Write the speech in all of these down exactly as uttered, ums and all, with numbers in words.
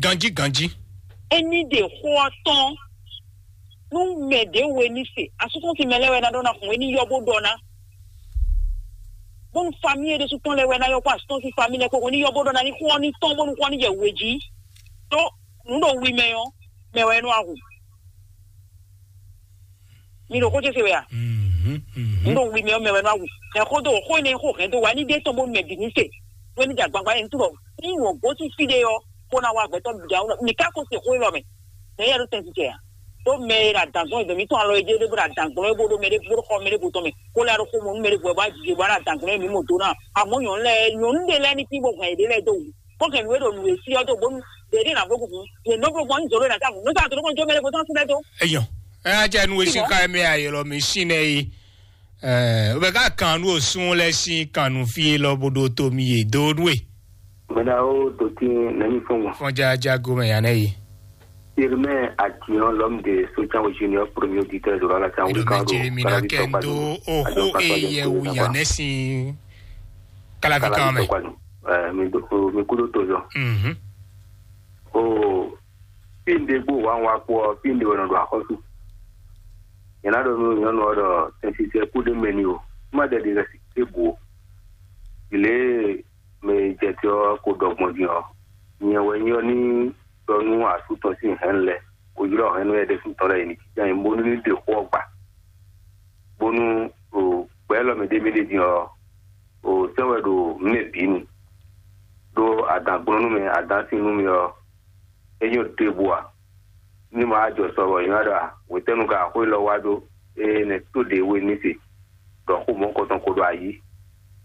Ganjí ganjí. Ení ɖe xó ɔ́ tɔn nú mɛ ɖě we ní se, asútɔ́ sín mɛ lɛ́ɛ wɛ ná ɖɔ ná hun é ní yɔ bó ɖɔ ná. Bónú famíye ɖésú tɔn lɛ́ɛ wɛ ná yɔ kpó asútɔ́ sín famíye lɛ́ɛ kpó hwenu ní yɔ bó ɖɔ ná ní xó ɔ́ ní tɔn bónú xó ɔ́ ní jɛ we jí. Tó nǔ ɖo wi mɛ ɔ́, mɛ wɛ nɔ ahu. Mi ɖo xó ce se wɛ a? Mhm, mhm. Nú ɖo wi mɛ ɔ́, mɛ wɛ nɔ awu. Mɛ xó dó xó énɛ́ xó hɛn dó wa ní ɖe tɔn bónú mɛ bǐ ní se. Wé ní dza gbangba ɛn túbɔ ní wɔ gosín fí ɖé ɔ́, kó ná wá gbɛtɔ́ bǐ ɖa. Mi ka ko se xó élɔ́ mɛ. Mɛ yɛ ɖo tɛn titɛ a? Tó mɛ e ɖo adǎn gbɔn é, mɛ mǐtɔn alɔ e jɛ ɖé bó ɖo adǎn gbɔn é bó ɖó mɛ ɖé bó ɖo xɔ mɛ ɖé bó tɔn mɛ, kó lɛ́ ɖo xó mɔ nú mɛ ɖé bó wɛ bó wá jijɛ bó wá ɖo adǎn gbɔn é mǐ mɔ dó ná. Amɔ̌ nyɔ̌nu lɛ́ɛ, nyɔ̌nu ɖé lɛ́ɛ ní tín bó hɛn yěɖée lɛ́ɛ dó wǔ. Kɔ́kɛn nǔ e ɖo nǔ e sí ɔ́ dó bónú ɖě ɖé ná vo gǔgú, yě nɔ bló gbɔn nyi zǒ ɖé ná tábǔ, nú sá tó nɔ jó mɛ ɖé bó tɔ́n sín lɛ́ dó. Eyɔn, ɛ á jɛ nú e sín Eyɔn. Ká ɛ mɛ ayɛlɔ mi sín nɛ yi. Ɛ, bɛ ká kan nú osún lɛ sín kan nú fí lɔ bó ɖó tó mi yé dó nú e. Mɛɖa ó dotí nɛmí fún wọn. Fɔn jaja go mɛ yanɛ yi. Irmɛ Atiyan, l'homme de Sotian Junior, premier auditeur de la Éɖo mɛ Jeremi na kɛ ndo oxó e yɛ wu yanɛ sín kalafi kan mɛ. Mi kúɖó tozɔ. Mhm. O, fí un ɖe gbó wǎ un wá kpó ɔ́, fí un ɖe wɛ nɔ ɖo axɔ́sú. Nyɛ ná ɖɔ nú nyɔ̌nu ɔ́ ɖɔ tɛnsisɛ kú ɖé mɛ n'i o, má ɖɛ ɖi lɛ́ sí ɖěbǔ o. Lě e mɛ e jɛ te ɔ́ ko ɖɔ gbɔn din ɔ́, nyɛ wɛ nyí ɔ́ ní ɖɔ nú asú tɔn sín hɛ̌nnu lɛ́ɛ, ko ylɔ́ hɛ̌nnu lɛ́ɛ ɖésú tɔn lɛ́ɛ yi ní jínjɔ́n ayǐ bónú ní ɖe xó ɔ́ gba. Bónú o gbɛ̌ élɔ́ mɛ ɖé mì ɖe din ɔ́, o sɛ́ wɛ ɖo nǔ mɛ bǐ nu. Ɖó adǎn gblɔ́n nú mɛ, adǎn sin nú mì ɔ́, é nyɔ́ ɖěbǔ ǎ. Ní ma wá jɔ sɔ bɔ nyɛ wá ɖɔ a, hwetɛ́nu ka xó élɔ́ wá ɖó, ée nɛ̌ tó ɖě we ní se, ɖɔ xó mɔ̌hunkɔtɔn ko ɖo ayǐ.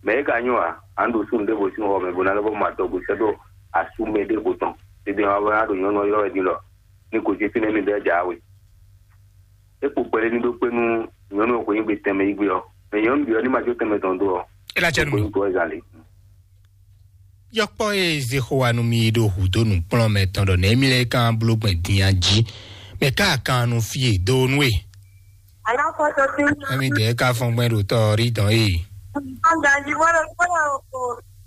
Mɛ̌ é ka nyɔ́ ǎ, a nǎ ɖo súnnu ɖěvo sín xɔ mɛ bó ná lɛ́ vɔ́ mɔ adɔgo sɛ́ ɖó asú mɛ ɖěvo tɔn. Tɛ́ntin wá bó ná ɖo nyɔ̌nu ɔ́ ylɔ́ wɛ din ɖɔ ní gosín fínɛ́ ní ɖɔ é jǎwe. É kpo kpɛɖé ní ɖó kpé nú nyɔ̌nu e xweyǐgbe tɛnmɛ yí gbé ɔ́, mɛ nyɔ̌nu bǐ ɔ́ ní ma jó tɛnmɛ tɔn dó ɔ́. É ná jɛ nú mì. Gbóyún dó wɛ zǎn lě. Yɔkpɔ́ e Zexowa nú mì ɖo hǔdó nǔkplɔ́nmɛ tɔn ɖɔ nɛ̌ mì lɛ́ kan bló gbɛn din a jí, mɛ ká kan nú fí e dó nú e. Alákòóso tí ń Ɛmi dɛ̌ ká fɔn gbɛn ɖo tɔ rí dɔn e. Ganji wọ́n lọ gbọ́dọ̀ kò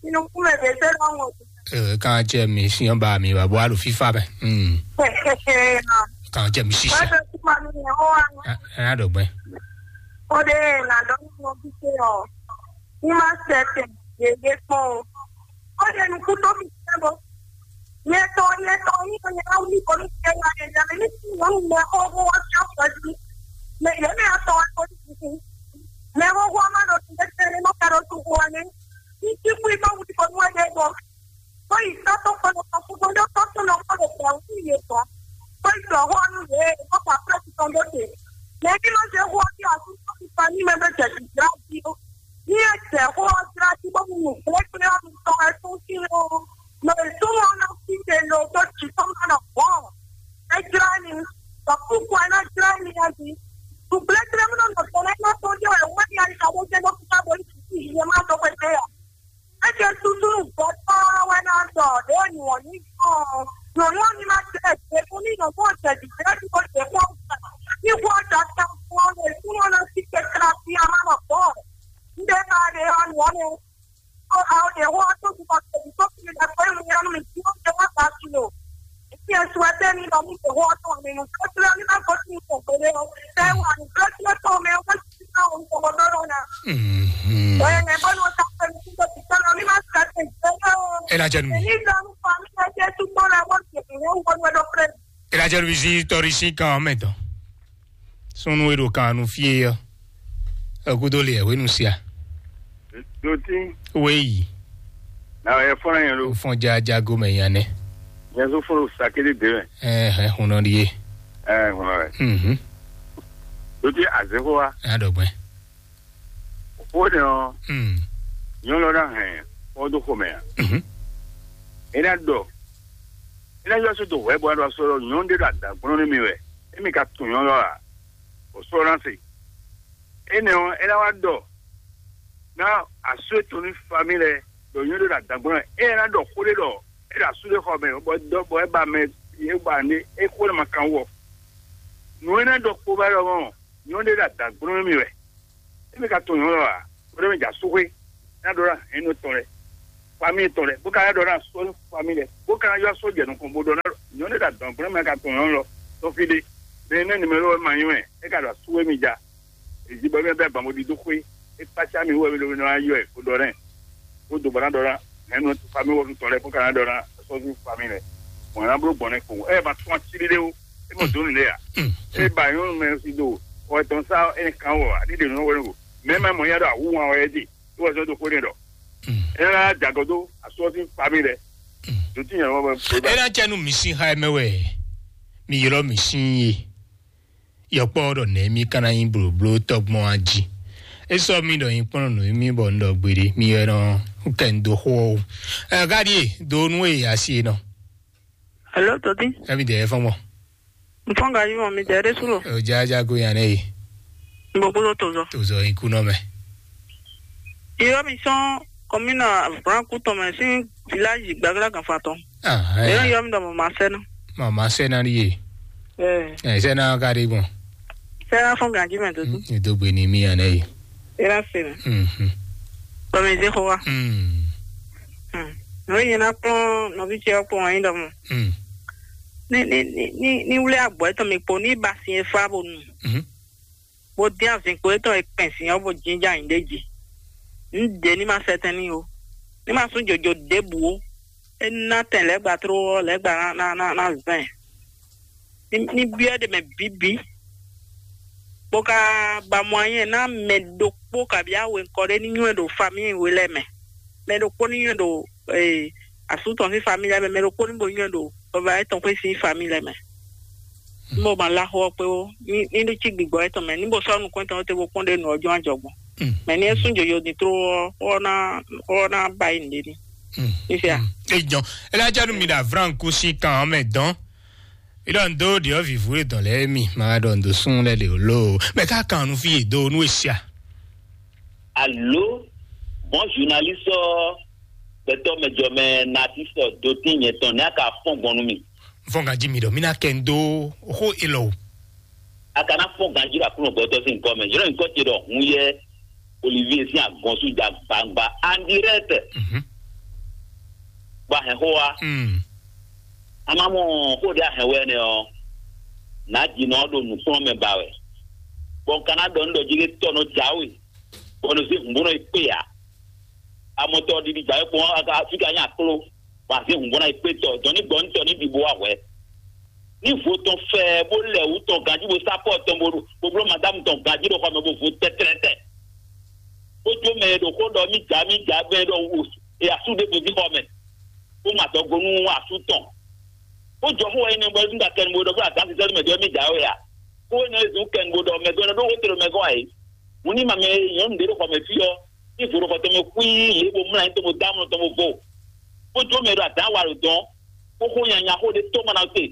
nínú kúmẹ̀ bẹ́ẹ̀ tẹ́ lọ́wọ́. Ɛ, kan cɛ mi siɔn ba mi ba bɔ alo fifa bɛ. Hmm. Kan cɛ mi sisɛ. Wọ́n lọ sí ma ní ẹ̀họ́ wa. Ɛ, ɛ, na dɔ gbɛ. Ó dé nàdọ́ nínú ọdún pé ọ̀ ní máa ń tẹ̀sẹ̀ yèyé pọ̀ o. Ó lè nu kú tó fi ṣẹ́ bọ́. Yẹtọ̀ yẹtọ̀ yín kan yẹn á wí kọ́ ní ṣe wá yẹn yẹn ní tí wọ́n ń mọ ọwọ́ wọn ṣe ọ̀pọ̀ sí. Mẹ yẹn ní àtọ̀ wọn kò ní kú. Mẹ wọ́n wọ́n máa lọ sí ẹsẹ̀ ní mọ́kàdọ̀ tó wọ wọn ní. Ní tí kú iná wù kọ́ ní wọ́n yẹ bọ́. Ó yìí sá tó kọ́ lọ́kọ́ fún wọn yóò tọ́ tó lọ́kọ́ lọ́kọ́ àwọn ìyẹn kan. Ó yìí sọ̀rọ̀ wọn ní ìwé ìkọ́kọ̀ àpẹẹrẹ tuntun lóde. Mẹ kí ló ṣe wọ́n bí àtúntò ti pa ní mẹ́mẹ́tẹ̀ ìgbà bí ó. Ní ẹsẹ̀ kó wá síra tí wọ́n mú un pé pé wọ́n mú tọ́ ẹ tún sí o. Mẹ ìtumọ̀ náà fi ṣe lo tó ti tọ́ máa nà bọ̀. Ẹ jira ni, sọ̀kúkú ẹ náà jira ni ẹ bí. Ṣùgbọ́n ẹ jira mi náà nà sọ̀rọ̀ ẹ náà tó jẹ́ ẹ̀ wọ́n ní àyíká wọ́n jẹ́ lọ́kùnrin káàbọ̀ ní títí ìyẹn máa sọ pé pé à. Ẹ jẹ́ tuntun bọ̀ tọ́ wẹ́ náà sọ̀ lé òyìnbó ní kàn. Yòówó ni máa tẹ̀ ẹ̀ fún ní ìnáwó ọ̀sẹ̀ jù bẹ́ẹ̀ tí kò tẹ̀ fún ọ̀sẹ̀. Ní wọ́n ọjà ta fún ọ lè fún ọ lọ sí kẹ̀kẹ́ àti àmàlà bọ̀. Nde ka ɖe ɔ́ nǔ ɔ́ nɛ. Ó a ó ɖe xó ɔ́ tó ti kɔ tɛ̀lé tó fi lɛ pé mi ɔ́ mi tí ó jẹ wá gba kilo. Fi ẹ̀sùn ẹgbẹ́ mi lọ mú ìdè xó ɔ́ tó mi nù tó tlẹ́ ní má gbójú mi kò gbélé ɔ́. Tẹ́ wà ní tó tlẹ́ tó mi ó bá ti ká òun kò gbọdọ̀ lọ nà. Mhm. Bóyá ẹ̀ bọ́ ni wọ́n ta pé mi tó ti tọ́ lọ ní má sùn láti ìgbẹ́ náà. Ẹ lajẹ nu mi. Èyí lọ ń fa mi lẹ́jẹ́ tó gbọ́ la wọ́n ti fi wọ́n wọ́n wọ́n lọ pẹ́. Ela jɛ luizi tɔri sin kan mɛ tɔn. Sunu e ɖo kan nu fie yɔ. Ekudo le ɛwenu sia. Doti. Weyi. Na yɛ fɔlɔ yɛn lo. Fɔn ja jago mɛ yan nɛ. Yɛn so fɔlɔ sakele de mɛ. Ɛɛ, ɛɛ, hunɔ di ye. Ɛɛ, hunɔ rɛ. Mhm. Doti azeko wa. A dɔ gbɛ. O de ɔ. Hmm. Nyɔnu lɔ na hɛn kɔ do xomɛ a. Mhm. E na dɔ. E na yɔ so do hwɛ bɔ a dɔ sɔrɔ nyɔnu de do adagbɔnɔ ne mi wɛ. E mi ka tun nyɔnu lɔ a. O sɔrɔ na se. E nɛ ɔ, e na wa dɔ. Na asu eto ni fa mi lɛ. Dɔ nyɔnu de do adagbɔnɔ. E na dɔ xo de dɔ. E da asu de xɔ mɛ. Bɔ dɔ bɔ e ba mɛ. E ba ne. E xo ne ma kan wɔ. Nu e na dɔ kpo ba dɔ mɔ. Nyɔnu de do adagbɔnɔ ne mi wɛ. Emi ka tunwun nyɔ̌nu ɔ́ ǎ, bó ɖɔ mì jɛ asúxwé, ná ɖɔ ná hɛ̌nnu tɔn lɛ́ɛ, famíi tɔn lɛ́ɛ, bó ka ná ɖɔ ná sɔ́ famíi lɛ́ɛ, bó ka ná ylɔ́ sɔ́ jɛ nukɔn, bó ɖɔ ná Nyɔ̌nu ɖo adɔ̌nkplɔ́n mɛ ka tɔn nyɔ̌nu lɔ tɔ́n fí ɖé. Mɛ e nɛ́ nimero wɛ ma nyɔ́ ɛ, é ka ɖo asú e mi ja. Èyí bɔ mɛ bɛ gbǎn bó ɖidó xwé. É kpácá mi wú wɛ mi ɖo mi nɔ wá yɔ ɛ kó ɖɔ nɛ. Kó do bɔ ná ɖɔ ná. Mɛ nɔ tu fami wɔ tɔn lɛ kó ka ná ɖɔ ná sɔ́ ju fami lɛ. Mɔ̌ ná bló gbɔn nɛ kpo. Ɛ ma tún ací ɖé o. É mɔ dó nǔ lé a. É ba nyɔ́nu mɛ si do. Ɔ tɔn sá ɛ kan wɔ a ɖi ɖe nɔ wɛ nɔ. Mɛ ma mɔ ya ɖo awu wan wɛ dé. Wɔ zɔ do xwé ɖɔ. Ena jagɔdo asɔ sín fami lɛ. Dutí yẹn wɔ bɛ. Ena cɛ nu mi sin ha mɛ wɛ. Mi ylɔ mi sin ye. Yɔkpɔ ɖɔ nɛ mi kana yin bloblo tɔgbɔn aji. E sɔ mi ɖɔ yin kpɔn nɔ mi bɔ n ɖɔ gbeɖe mi yɛ nɔ kɛ n do xo o. Ɛ gadi e do nu e asi e nɔ. Hello, Toti. Ɛ mi dɛ fɔn mɔ. N fɔn gaji mɔ mi dɛ ɖe sulo. O ja ja go yan ne. N bo bolo tozɔ. Tozɔ in kunɔ mɛ. Yɔ mi sɔn kɔmina branku tɔn mɛ sin village gbagla ganfa tɔn. Ah, Yɔ ɛ. Yɔ mi dɔ mɔ ma sɛ na. Mama sɛ na ye. Ɛ. Ɛ sɛ na ka de gbɔn. Sɛ na fɔn gaji mɛ, Toti. Ni do gbe ni mi yan ne. Era se mɛ. Mhm. Bɔ mi ze xo wa. Mm. Hmm. No yina kpɔn nɔvi ce kpɔn wa yin dɔ mɔ. Mm. Ni ni ni ni ni wuli agbɔ etɔn mi kpo ni ba sin e fa bo nu. Mhm. Bo dín azin kpo etɔn e kpɛn sin ɔ bo jinja nyi ɖe ji. N de ni ma sɛtɛn ni o. Ni ma sún jojo ɖebu o. E na tɛn lɛgba tro ɔ lɛgba na na na na zɛn. Ni ni biɔ ɖe mɛ bibi. Bo ka ba mɔ anyi na mɛ ɖokpo kabi awe nkɔ ɖe ni nyɔɛ ɖo famille we lɛ mɛ. Mɛ ɖokpo ni nyɔɛ ɖo eh, asú tɔn sín famille lɛ mɛ, mɛ ɖokpó ní bo nyɔ́ ɖo vava etɔn xwé sín famille lɛ mɛ. Ní bo ma lá xó ɔ́ kpé ó, ní ní ɖó cí gbigbɔ etɔn mɛ, ní bo sɔ́ nukún etɔn te bo kpɔ́n ɖe nǔ ɔ́ jɔ́n ajɔgbɔn. Mɛ ní é sún jojo din tló ɔ́, xó ɔ́ ná xó ɔ́ ná ba yi nǔɖé ní. Ní fia. Ejɔn, elájá nu mi ɖo avranku sín kan ɔ́ mɛ dɔn. Ilɔ ndo ɖiɔ vivu e dɔn lɛ mi ma ɖɔ ndo sun lɛ le lo. Mɛ ka kan nu fi do nu esia. Alo, bon journaliste ɔ, gbɛtɔ mɛ jɔ mɛ natiste ɔ, dotín nyɛ tɔn ne a ka fɔn gbɔn nu mi. Fɔn ganji mi ɖɔ mi na kɛ ndo xó elɔ o. A ka na fɔn ganji ɖo aklúnɔ gbɛtɔ sín nukɔ mɛ. Yɔrɔ nukɔ ce ɖɔ hun yɛ Olivier sín agɔn sú ja gbangba en direct. Mhm. Ba hɛn xó wa. Mm. A ma mɔ xó ɖe a hɛn wɛ nɛ ɔ, nǎ jinɔ ɖo nǔkplɔ́n mɛ ba wɛ. Bɔn ka ná ɖɔ nú ɖɔ jí ɖé tɔ nɔ jǎwe, bɔ nɔ zé hǔn bó nɔ yi kpé ǎ. Amɔtɔ ɖiɖi jǎwe kpɔn fíka nyí akló, bɔ azé hǔn bó ná yi kpé tɔ, dɔn ní gbɔ nú tɔ ní ɖi bó wá hwɛ. Ní vo tɔn fɛ bó lɛ wǔ tɔn ganjí bó sá pɔ́ tɔn bó bó bló madámu tɔn ganjí ɖo xɔ mɛ bó vo tɛ́tlɛ́tɛ́. Bó jó mɛ e ɖo xó ɖɔ mí jà mí jà gbɛ ɖɔ wò e asú ɖěvo dín xɔ mɛ, bó ma dɔgo nú asú tɔn. Bó jɔ xó wɛ nyí nɛ bɔ é zún ɖo akɛnugbo ɖɔ bó adǎn sísɛ́ mɛ ɖɔ mí jà wɛ a? Xó énɛ́ e zún kɛnugbo ɖɔ mɛ gɔ́ ɖó xó te ɖo mɛ gɔ́ ǎ é. Hǔn ní ma mɛ nyɔ̌nu ɖě ɖo xɔ mɛ fí ɔ́, ní vo ɖo xɔ tɔn mɛ xwíí yě bó mlá nyí tɔn bó dó amlɔ tɔn bó vo. Bó jó mɛ ɖo adǎn wa ɖo dɔn, bó xó nyanya xó ɖé tó ma ná se,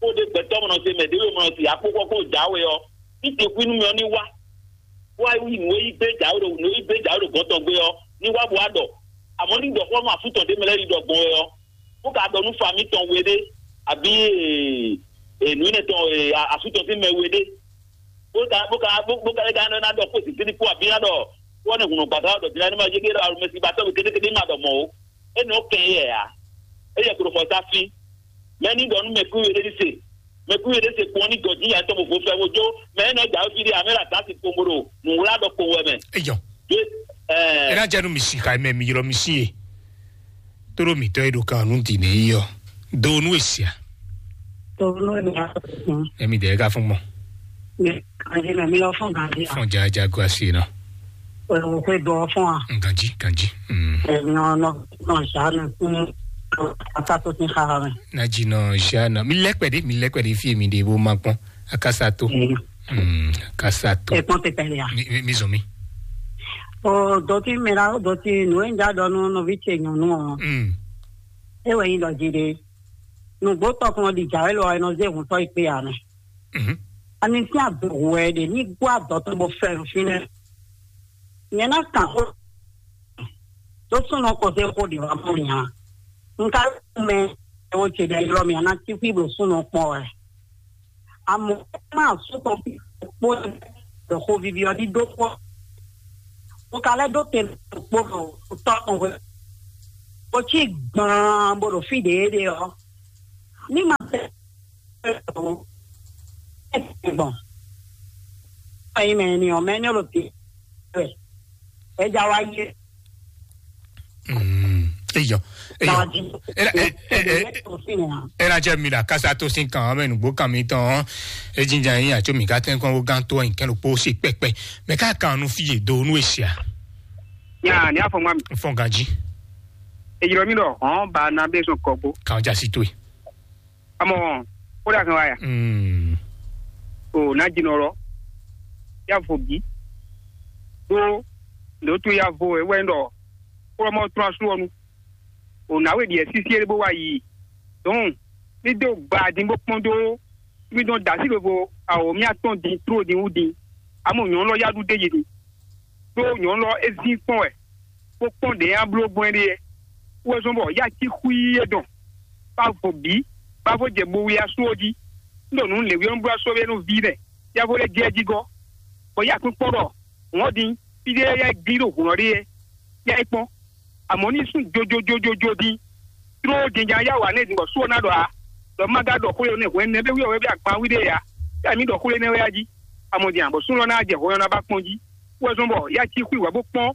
xó ɖé gbɛtɔ́ ma nɔ se mɛ ɖě ɖo ma nɔ se akpókpɔ́ kpó jǎwe ɔ́, ní te xwí nú mɛ ɔ́ ní wá. Wá yi nǔ e yí gbé jǎwe ɖo nǔ e yí gbé jǎwe ɖo gɔ̌n tɔn gbé ɔ́, ní wá bó wá ɖɔ. Amɔ̌ ní ɖɔ xó ɔ́ nú asú tɔn ɖé mɛ lɛ́ɛ yi ɖɔ gbɔn wɛ ɔ́, bó ka ɖɔ nú fami tɔn we ɖé, abǐ ee, nǔ énɛ́ tɔn ee, asú tɔn sín mɛ we ɖé. Bó ka bó ka bó bó ka lɛ́ ka ná ɖɔ kpó zǐngídi kpó abǐ ná ɖɔ kpó ɔ́ nɛ́ hǔn nɔ gbǎgbá ɖɔ din ná ní ma yé ɖɔ alomɛsi ba tɔ́ kétékété ma ɖɔ mɔ̌ ó. É nɔ kɛn yɛ ǎ. É yɛ klo xɔ sá fí. Mɛ ní ɖɔ nú mɛ kú we ɖé ní se. Mɛ kú we ɖé se kpɔ́n ní gɔ̌ dín yǎ tɔn bó vo fɛ bó jó. Mɛ é nɔ jà ó fí ɖé amɛ ɖo adǎsi kpombo ɖo nǔwlá ɖɔ kpo wɛ mɛ. Eyɔ. Ena jɛ nu mi si xa mɛ mi ylɔ mi si ye. Toro mi tɔ e ɖo kan nu di ne yi yɔ. Do nu esia. Toro nu esia. Emi de ka fún gbɔn. Mi kanji na mi lɔ fún ganji. Fún jaja go asi na. O ko do fún a. Ganji ganji. Mm. Emi no no no sa na. Ata to tin xa ha me. Na ji no ja na. Mi lɛkpɛ de mi lɛkpɛ de fi mi de bo ma kpɔn. Akasato. Mm, akasato. Ẹ kpɔn tɛtɛ ya. Mi mi mi zɔn mi. O dɔti mira o dɔti nu e n ja dɔ nu nɔvi ce nyɔnu ɔ. Mm. E wɛ yin dɔ ji de. Nugbo tɔkun ɔ di ja e lɔ ɛ nɔ ze hun tɔ yi kpe ya mɛ. Mhm. Ani ti a do hu ɛ de ni gbɔ adɔ tɔn bɔ fɛ nfin nɛ. Nyɛ na kan xó tó súnɔ kɔ sí xó ɖě wá mɔ nya. Un ka mɛ ɛwɔ ce ɖe ylɔ mì ana tí xwí ɖo súnɔ kpɔ wɛ. Amɔ má súnɔ kpó ɖo xó vivi ɔ́ ɖíɖó kpɔ. Un ka lɛ́ ɖó te kpó ɖo tɔ́ tɔn hwe. Bó cí gbaan bó ɖo fí ɖě ɖe ɔ́. Ní ma tɛ Gbɔn. Ayi mɛ ni ɔ mɛ ni ɔ lo ti. Ɛ ja wa yi. Mm. Eyɔ. Eyɔ. Ela ela ela jẹ mi la kasa to sin kan mɛ nugbo kan mi tɔn. Ejinja yin atso mi ka tɛn kɔn wo gan to yin kɛn lo kpo se pɛpɛ. Mɛ ka kan nu fi ye do nu esia. Ya ni afɔ ma mi. Fɔn ganji. Ejiro mi dɔ hɔn ba na be so kɔgbo. Kan ja si to yi. Amɔ, ó dà kan wá ya. Mm. O ná jinɔ lɔ. Ya vo bí. Ɖó lǒtu ya vo ewɛ ɖɔ kplɔ́mɔ trɔ́n asú ɔ́ nu. O nǎwe ɖiɛ sísí é bó wá yi. Dɔn ní dó gba dín bó kpɔ́n dó mí dɔn da sí lobo awǒ mía tɔn dín tró dín wú dín. Amɔ nyɔ̌nu lɔ yá ɖu d'é yi din. Ɖó nyɔ̌nu lɔ é zín kpɔ́n wɛ, bó kpɔ́n ɖě nyi a bló gbɔn é ɖe é. Wɛ zɔ́n bɔ yá cí xwíí é dɔn, bá vo bǐ, bá vo jɛ bo wlí asú ɔ́ jí. Un ɖo nǔ lěwí ɔ́ nú bló asú ɔ́ nú ví nɛ́, yá vo lɛ́ jɛ jí gɔ́, bɔ yá kpín kpɔ́ ɖɔ hǔn ɔ́ din, fí ɖé yá gblí ɖo hǔn ɔ́ ɖe é, yá é kpɔ́n. Amɔ̌ ní sún jojojojojo din, tló din jǎn yá wǎ nɛ́ din bɔ sú ɔ́ ná ɖɔ ǎ, ɖɔ má ka ɖɔ xwé énɛ́ hwɛ̌n nɛ́ bɛ́ wí ɔ́ wɛ bí agban wí ɖe ǎ, yá mǐ ɖɔ xwé énɛ́ wɛ a jí. Amɔ̌ din ǎ, bɔ súnnu ɔ́ ná jɛ hɔn ɔ́ ná ba kpɔ́n jí. Wɛ zɔ́n bɔ yá cí xwí wǎ bó kpɔ́n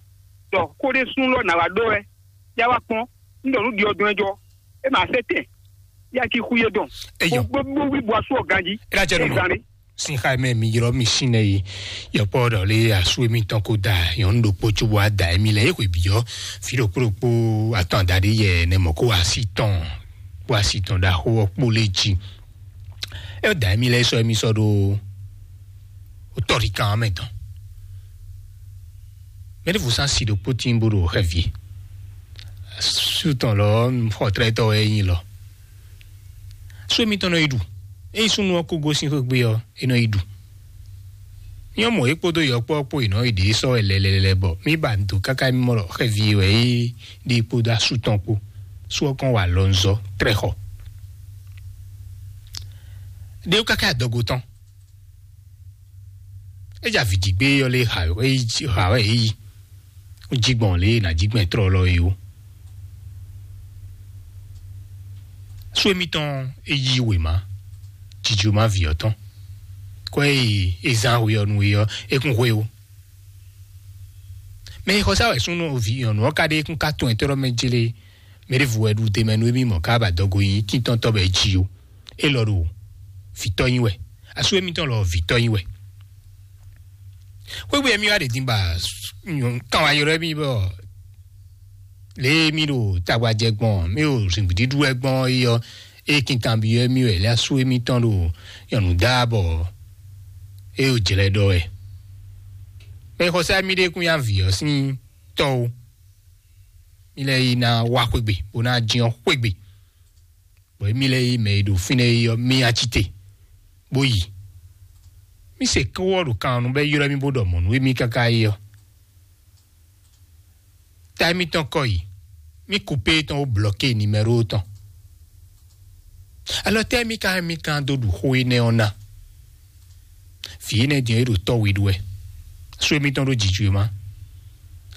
ɖɔ xó ɖé súnnu lɔ nǎ wá ɖɔ wɛ, yá wá kpɔ́n, un ɖɔ nǔ ɖi ɔ́ dɔn ɛ jɔ, é ma sɛ́ tɛn, yá cí xwí é dɔn. Eyɔ. Bó bó wí bɔ asú ɔ́ ganjí. É ná jɛ nunu. Zan ɖé. Sin xa mɛ mi ylɔ́ mi sín nɛ yi. Yɔkpɔ ɖɔ lé asú émítɔn kó da nyɔ̌nu ɖokpó cóbó wá da émí lɛ é xwe bǐ ɔ́, fí ɖokpó ɖokpó atɔn adaɖé yɛ nɛ mɔ kó wá sí tɔn, kó wá sí tɔn ɖaxó ɔ́ kpó lé jí. É da émí lɛ sɔ́ émí sɔ́ ɖó tɔ́ɖikan ɔ́ mɛ tɔn. Mɛɖěvo sán si ɖokpó tín bó ɖo xɛvie. Sú tɔn lɔ xɔtlɛ́tɔ́ wɛ é nyí lɔ. Sú émítɔn nɔ yi ɖu. Ényí súnnu ɔ́ kó gosín xwé gbe ɔ́, é nɔ yi ɖu. Nyɔ́ mɔ é kpódó yɔkpɔ́ kpó è nɔ yi ɖě sɔ́ wɛ lɛlɛlɛ bɔ mí ba do káká mí mɔ ɖɔ xɛvie wɛ é ɖe kpódó asú tɔn kpó. Sú ɔ́ kɔn wa lɔnzɔ́ trɛ́xɔ. Ɖé wú káká adɔgo tɔn. É jɛ avǐ jí gbé ɔ́ lé ha wɛ é yi. Jí gbɔn lě e nǎ jí gbɛn tlɔlɔ é ó. Sú émítɔn é yí wěma, jijloma vǐ ɔ́ tɔn. Kɔ é e zán hwe ɔ́ nú é ɔ́, é kún hwe ó. Mɛ e xɔsá wɛ súnnu vǐ nyɔ̌nu ɔ́ ka ɖe é kún ka tɔn ɛ tɔ́ mɛ jlé. Mɛ ɖěvo wɛ ɖu te mɛ nú émí mɔ ká ba dɔgo nyi tíntɔ́ntɔ́ bɔ é jí ó. É lɔ ɖo vǐtɔ́ nyi wɛ. Asú émítɔn lɔ vǐtɔ́ nyi wɛ. Xwégbé mì wá ɖe din ba kan wá ylɔ́ mì bɔ lě e mì ɖo tagbajɛ gbɔn, mì ɖo zǐngbíɖíɖú wɛ gbɔn é ɔ́, é kinkan byɔ́ mì wɛ lé asú émítɔn ɖo nyɔ̌nu dá bɔ é ɖo jlɛ ɖɔ wɛ. Mɛ xɔsá mì ɖe kún nyi avǐ ɔ́ sín tɔ́ ó. Mì lɛ́ yi ná wá xwégbé, bó ná jyɔ́n xwégbé. Bɔ émí lɛ́ɛ yi mɛ e ɖo fínɛ́ é ɔ́, mì nyi acite, bó yi. Mì se kówɔ ɖo kan ɔ́ nu bɔ é ylɔ́ mì bó ɖɔ mɔ̌ nú émí káká é ɔ́. Ta émítɔn kɔ yi, mì kupé tɔn ó blɔké nimɛ́ro tɔn. Alɔ tɛ́ mì ka mì kan dó ɖu xó énɛ́ ɔ́ ná? Vǐ énɛ́ din ɔ́, é ɖo tɔ́ we ɖu wɛ. Sú émítɔn ɖó jǐjǔ e má,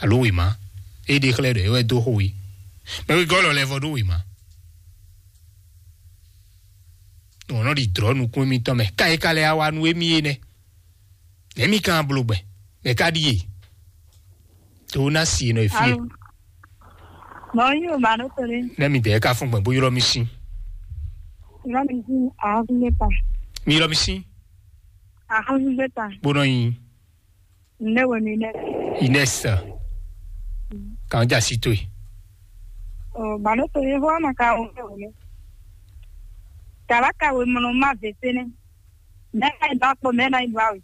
alo wěma, é ɖe xlɛ́ ɖɔ é wɛ dó xó we. Mɛ wegɔ́ lɔ lɛ́ vɔ ɖó wěma. Nɔ nɔ ɖi dlɔ̌ nukún émítɔn mɛ, ká é ka lɛ́ wá wá nú émí é nɛ́. Nɛ̌ mì ka bló gbɛn? Mɛ ka ɖíe? To ná si nɔ e fie. Alo. Mɔ yí o ba ɖo to ɖe. Nɛ́ mi dɛɛ ka fún gbɛn bó ylɔ́ mi sín. Ylɔ́ mi sín ahɔ́súgbéta. Mi ylɔ́ mi sín. Ahɔ́súgbéta. Bó nɔ nyi. Nde wɛ mi nɛ? Ines. Kan ja si to yi. O ba ɖo to ye fɔ ma ka o ne o ne. Kaba ka we mɔnɔ ma vese ne. Mɛ na yi ba kpɔ mɛ na yi ba we.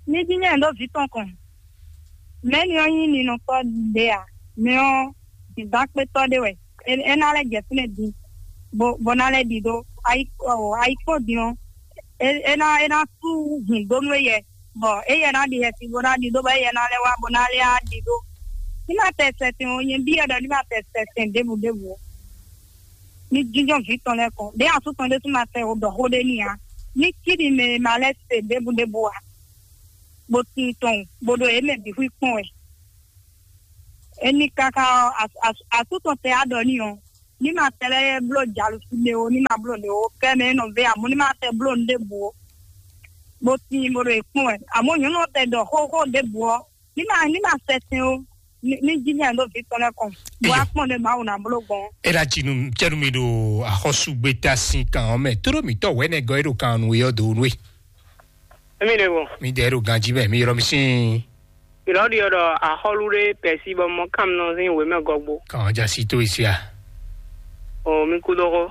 Ní jí nyɛ ɖó vǐ tɔn kɔn. Mɛ ni ɔ́ nyí ninɔtɔ́ ɖé a? Mɛ ɔ́ dǐndán kpétɔ́ ɖé wɛ. É ná lɛ́ jɛ fínɛ́ din, bó ná lɛ́ ɖi ɖó. Ayikpɔ́ din ɔ́, é ná é ná sú hǔn dó nú éyɛ, bɔ éyɛ ná ɖi xɛsi bó ná ɖi ɖó, bɔ éyɛ ná lɛ́ wá bó ná lɛ́ á ɖi ɖó. Ní ma tɛ sɛsɛn o, nyɛ byɔ́ ɖɔ ní ma tɛ sɛsɛn ɖěbǔ ɖěbǔ o. Ní jínjɔ́n vǐ tɔn lɛ́ɛ kɔn, ɖěe asú tɔn ɖésú ma tɛ o ɖɔ xó ɖé n'i ǎ. Ní cí ɖi mɛ e ma lɛ́ se ɖěbǔ ɖěbǔ ǎ, bó tín tɔn, bó ɖo yě mɛ bǐ xwí kpɔ́n wɛ. Ení káká ɔ́, asú tɔn tɛ á ɖɔ n'i ɔ́, ní ma tɛ lɛ́ bló jalusi ɖé o, ní ma bló ɖě o, kɛ mɛ é nɔ vɛ amú ní ma tɛ bló nǔ ɖěbǔ o. Bó tín bó ɖo e kpɔ́n wɛ. Àmọ́ nyɔ̌nu ɔ́ tɛ ɖɔ xóxó ɖěbǔ ɔ́, ní ma ní ma sɛ tɛn ó, ní ní jí ní àndó vǐ tɔn lɛ́ɛ kɔn. Bó wá kpɔ́n ɖě Mawu ná bló gbɔn. É ná ci nú cɛ́nú mi ɖo axɔ́súgbéta sín kan ɔ́ mɛ. Tóɖó mǐtɔn wɛ̌nɛgɔ́ e ɖo kan nú é ɔ́ dó nú é. Émi ɖe wo. Mi dɛ ɖo ganjí mɛ, mi ylɔ́ mi sín. Ìlọ́ ɖi ɔ́ ɖɔ axɔ́lú ɖé pɛ̌si bɔ mɔ kánmlɔ sín wěmɛ gɔ́gbó. Kàn já sí tó ìsí a? O mi kú dó xó.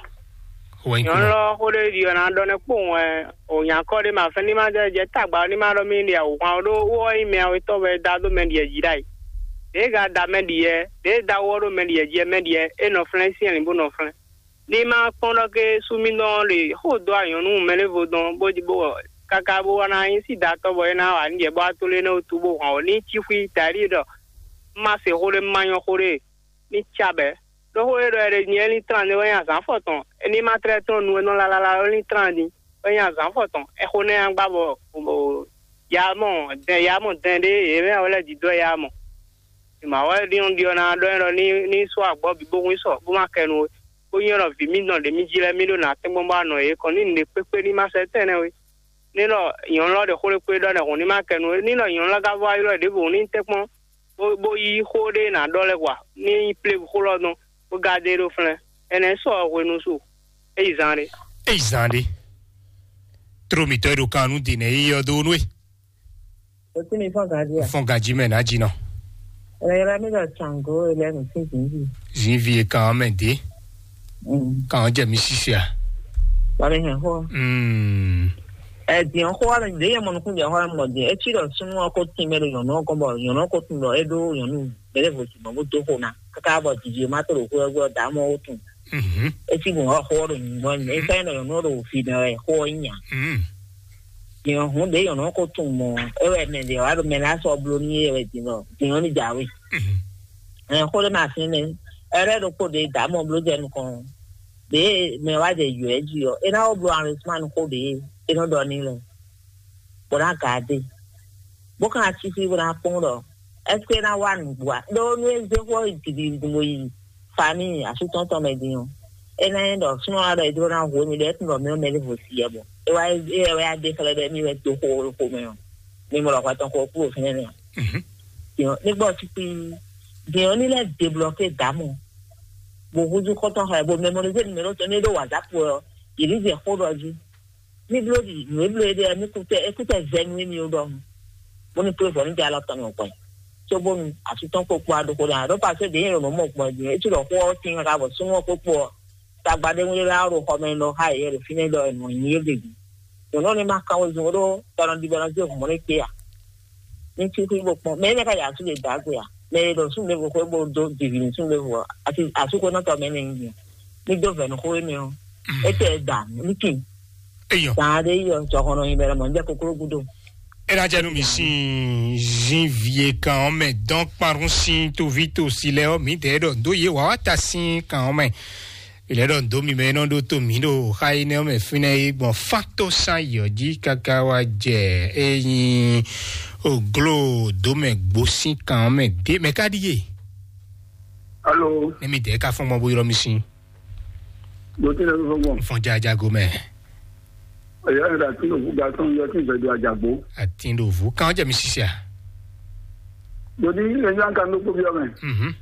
Wɛn kú. Nyɔ̌nu lɔ xó ɖé ɖi ɔ́ ná ɖɔ nɛ́ kpowun wɛ o nyakɔ ɖé ma fɛn ní ma jɛ jɛ tagba ní ma ɖɔ mì ɖi awǔhwan ɖó wó ɔ́ nyí mɛ awetɔ́ wɛ da dó mɛ ɖiɛ jí ɖ'ayǐ. Ɖěe ga da mɛ ɖiɛ, ɖěe da wó ɔ́ ɖó mɛ ɖiɛ jí ɛ mɛ ɖiɛ é nɔ flɛ́n syɛ́nlǐn bó nɔ flɛ́n. Ní ma kpɔ́n ɖɔ ké súmídɔn ɔ́ ɖe xó dó anyɔ̌nu mɛɖěvo dɔn bó bó káká bó wá ná nyí sídatɔ́ bɔ é ná wa nǔ jɛ bó wá tló énɛ́ wútu bó hɔn ɔ́ ní cí xwí daɖí ɖɔ má se xó ɖé má nyɔ́ xó ɖé ní cá bɛ̌. Ɖó xó e ɖɔ è ɖe nyɛ é lín tlán din wɛ nyí azǎn fɔtɔn, é ní ma tlɛ́ tlɔ́n nu e nɔ lalala wɛ lín tlán din wɛ nyí azǎn fɔtɔn. Ɛxó nɛ́ nya gbá bɔ yamɔ dɛn yamɔ dɛn ɖé yě mɛ wɛ lɛ́ dǐdó ɛ yamɔ. Mawɛ ɖi ɖɔ ná ɖɔ ɛ ɖɔ ní ní sɔ́ agbɔ́ bǐ bó hun sɔ bó má kɛ nu we. Bó nyí ɖɔ vǐ mì nɔ ɖě mì jí lɛ́ɛ mì ɖo nǎ tɛ́ngbɔ́n bó wá nɔ yě kɔn ní nǔɖé kpékpé ní ma sɛ tɛ́nɛ́ we. Ní ɖɔ nyɔ̌nu lɔ ɖe xó ɖé kpé ɖɔ nɛ́ hǔn ní ma kɛ nu we. Ní ɖɔ nyɔ̌nu lɔ ka vɔ ayɔ ɖěvo hǔn ní tɛ́nkpɔ́n bó bó yí xó ɖé ná ɖɔ lɛ́ɛ wa ní nyí plé xó lɔ dɔn bó gádé ɖó flɛ́n. Ɛnɛ sɔ hwenu su é yi zan ɖé. É yi zan ɖé. Tró mǐtɔn e ɖo kan nú dǐnɛ yíyí ɔ́ dó nú é. Òtún mi fɔ́n gǎn jí à? Fɔ́n gǎn jí mɛ nǎ jí nɔ. Ẹ̀rọ yẹra mi lọ ṣàngó ilẹ̀ mi sí zǐnzì. Zǐnvi e kan ɔ́ mɛ dě. Kan ɔ́ jɛ mi sísè à? Wà á lè hɛn xó. Mm. Ɛ diɲɛ xó wa lɛ de yɛ mɔ nukun jɛ xó la mɔ diɲɛ etsi lɔ sunu ɔkɔ tin mɛ ɖo nyɔnu ɔkɔ bɔ nyɔnu ɔkɔ tun lɔ eɖo nyɔnu bɛlɛ vo si mɔ bó do xó na kaka bɔ didi ma to ɖo xó ɛgbɛ da mɔ wó tun. Mhm. Etsi bɔn xó ɔ́ ɖo nyugbɔ nyugbɔ efɛ nɔ nyɔnu ɔ́ ɖo fi nɔ ɛ xó ɔ́ nya. Mm. Diɲɛ hun de nyɔnu ɔkɔ tun mɔ ewɛ mɛ de wa ɖo mɛ la sɔ blo ni ewɛ din lɔ diɲɛ ni jawe. Mhm. Ɛ xó ɖé ma fi nɛ ɛrɛ ɖo kpo de da mɔ blo jɛ nukɔn. Ɖě mɛ wá jɛ yǔ ɛ jí ɔ́, é ná wó bló arrondissement xó ɖě é nɔ ɖɔ n'i lɛ́ɛ, bó ná gǎ dó e, bó ka ná cí fí bó ná kpɔ́n ɖɔ ɛ́seke é ná wá nǔgbó ǎ. Ɖó nú é zé xó yi gǐgígí bó yi famíi asú tɔn tɔn mɛ din ɔ́, é ná nyí ɖɔ súnnu ɔ́ ɖɔ é jló ná hu émí ɖɔ é tunwun ɖɔ mɛ ɔ́ mɛ ɖěvo si yɛ bɔ é wá é wɛ wá dó xlɛ́ ɖɔ émí wɛ dó xó xó mɛ ɔ́, mi mɔ ɖɔ hwɛ tɔn xó kúrò fínɛ́ nɛ́ ǎ. Mhm. Din ɔ́, ní gbɔ ɔ́ cí kpíí. Din ɔ́, ní lɛ́ debloké dǎ mɔ, bó húzú xɔ́ntɔn xá ɛ, bó mɛmɔrizé numero tɔn ní é ɖó WhatsApp wɛ ɔ́, yě ní zɛ xó ɖɔ jí. Ní bló ɖi nǔ e bló é ɖe ɔ́, ní kútɛ é kútɛ zɛ nú émí ó ɖɔhun, bó ní kplé vɔ̌ ní jɛ alɔ tɔn mɛ gbɔn. Cóbónu asú tɔn kpokpo aɖo xó ɖa ɖó pasé ɖě nyɛ ɖo nǔ mɔ gbɔn din é cí ɖɔ xó ɔ́ tín káká bɔ súnnu ɔ́ kpokpo ɔ́, tagba ɖé ŋu é wá ɖo xɔ mɛ lɔ xá yě ɖo fínɛ́ ɖɔ è nɔ nyi yé ɖe jí. Nyɔ̌nu ɔ́ ní ma kan wezun ó ɖó tɔnɔdibɔnɔ zé hǔn mɔ ɖé kpé a? Ní cí xwí bó kpɔ́n mɛ énɛ́ ká yi asú ɖe dǎ gbe a? Mɛ e ɖo súnnu ɖěvo xwé bó dó jivǐ nú súnnu ɖěvo ɔ́, asi asúxwénɔtɔ́ mɛ nɛ́ nyí din. Ní dó vɛ̌ nú xó énɛ́ ɔ́, é tɛ da ní kin. Eyɔ. Zǎn ɖé yi ɔ, jɔhɔn nɔ nyi bɛ lɔ mɔ ní jɛ kokló gúdo. É ná jẹ́ nú mi sín zínvi e kan ɔ́ mɛ dɔn kpanrun sín toví tosi lɛ ɔ́, mǐdɛɛ ɖɔ dó yě wǎ wá ta sín kan ɔ́ mɛ. Ilẹ̀ ɖɔ dó mi mɛ nɔ ɖó tó mǐ ɖo xa énɛ́ ɔ́ mɛ fínɛ́ é gbɔn fán tó sán yɔ̌ jí káká wá jɛ é nyí ògló dó mɛ gbó sín kan ɔ́ mɛ dé mɛ ká ɖíe. Alo. Ní mi dɛɛ ká fɔ́n gbɔn bó ylɔ́ mi sín. Mo ti lè fɔ́n gbɔn. Fɔn jaja gomɛ. Ẹ̀yà rẹ̀ àti òkú ga tán yọ sí ìfẹ̀dù àjàgbó. Àti ìdòwú kan jẹ́ mi sísè à. Mo ní ẹ̀yà ń ka ló kó bí ọmọ ẹ̀. Mhm.